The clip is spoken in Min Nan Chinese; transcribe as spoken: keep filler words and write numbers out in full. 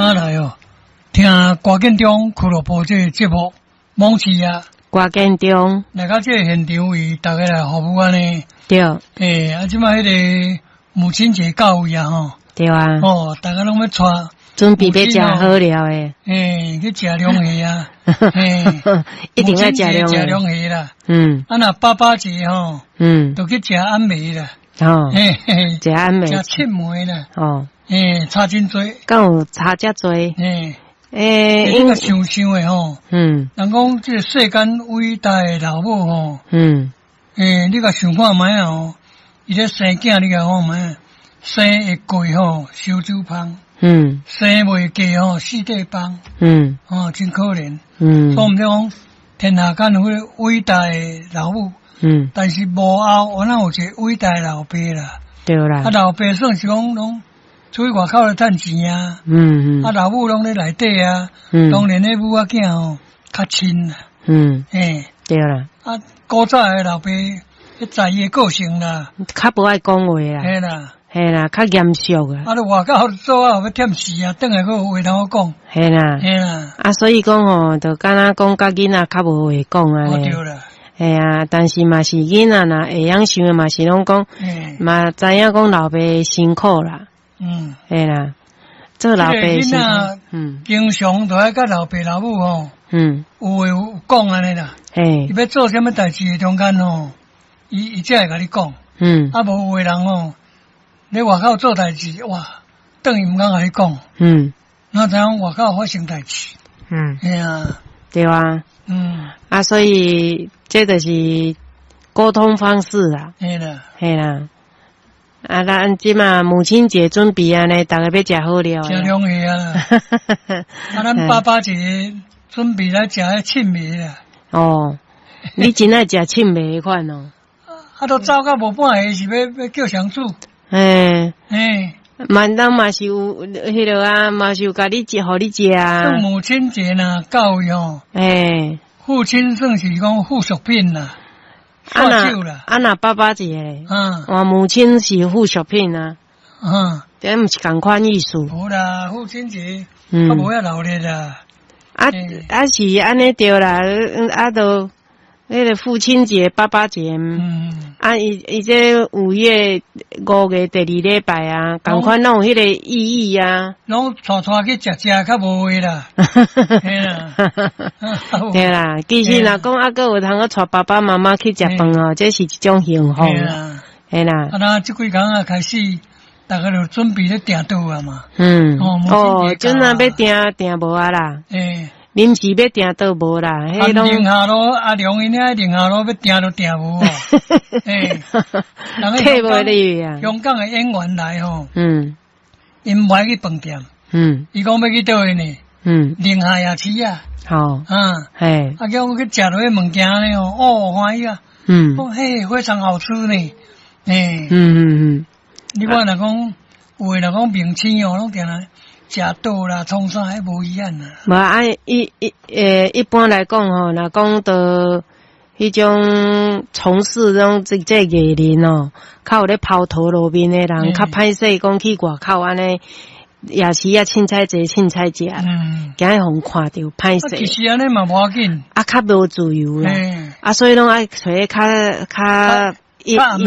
啊來哦，聽歌建中俱樂部這个節目，網市啊，歌建中，來到這个現場為大家來服務按呢。對。欸，啊，這擺彼个母親節到位啊吼。對啊。哦，大家攏欲帶準備欲食好料的。欸，去食龍蝦啊。欸，一定愛食龍蝦。食龍蝦啦。嗯。啊，若爸爸節吼，嗯，就去食暗暝啦。哦。嘿嘿，食暗暝。食七糜啦。哦。欸，差真濟。敢有差遮濟？欸。欸，你個想想的吼，嗯，人講這个世間偉大的老母吼，嗯，欸，你共想看覓啊吼，伊咧生囝，你共看覓，生會過吼，燒酒芳，嗯，生袂過吼，四塊放，嗯，哦，真可憐，嗯，所以毋是講天下間有彼个偉大的老母，嗯，但是幕後我哪有一个偉大的老爸啦，對啦，啊，老爸算是講攏出去外口咧趁錢啊，嗯嗯，啊，老母攏咧內底啊，嗯，當然彼母仔囝吼較親啦，嗯，欸，對啦，啊，古早的老爸，彼在意的個性啦，較無愛講話啦，嘿啦，嘿啦，較嚴肅啊，啊，你外口做啊，欲忝死啊，轉來閣有話通好講，嘿啦，嘿啦，啊，所以講吼，就敢若講佮囡仔較無話講按呢，對啦，嘿啊，但是嘛是囡仔若會曉想的嘛是攏講，嘛知影講老爸辛苦啦。嗯，嘿啦，做老爸囡仔，嗯，經常都愛佮老爸老母吼，嗯，有話有講按呢啦，嘿，伊欲做啥物代誌的中間吼，伊伊才會共你講，嗯，啊無有的人吼，咧外口做代誌，哇，轉去毋敢共你講，嗯，哪知影外口發生代誌，嗯，嘿啊，對啊，嗯，啊，所以這就是溝通方式啦，嘿啦，嘿啦。啊，咱這馬母親節準備按呢，逐家欲食好料。食龍蝦啊！啊，咱爸爸節準備來食彼七糜啦。哦，你真愛食七糜彼款哦。啊，都走到無半下，是欲欲叫誰煮？欸欸，嘛，咱嘛是有彼个啊，嘛是有共你食，予你食啊。算母親節若到位吼。欸，父親算是講附屬品啦。啊若啊若爸爸節咧，我母親是附屬品啊，嗯，這毋是仝款意思。無啦，父親節，較無遐鬧熱啦。啊啊是按呢對啦，啊都彼个父親節、爸爸節，嗯，啊伊伊這五月五月第二禮拜啊，仝款攏有彼個意義啊。攏帶帶去食食較無話啦。對啦，其實若講猶閣有通閣帶爸爸媽媽去食飯哦，這是一種幸福啦。嘿啦。啊，那這幾工啊開始，逐家就準備咧訂桌啊嘛。嗯。哦，陣仔欲訂訂無啊啦。欸。臨時欲訂都無啦。啊，寧夏路阿良𪜶遐寧夏路欲訂都訂無啊。欸。退無入啊。香港的演員來吼。嗯。𪜶無愛去飯店。嗯。伊講欲去佗位呢？嗯。寧夏夜市啊。好。嗯。嘿。啊，叫我去食落彼物件呢哦，歡喜啊。嗯。講嘿，非常好吃呢。欸。嗯嗯嗯。你看若講有的若講明星哦，攏定來食倒啦，創啥彼無遺憾啦。無啊，一一欸，一般來講吼，若講到彼種從事這種這這藝人哦，較有咧拋頭露面的人，較歹勢講去外口按呢，夜市啊，凊彩坐凊彩食，驚予予看著歹勢。其實按呢嘛無要緊，啊，較無自由啦，啊，所以攏愛揣較較。較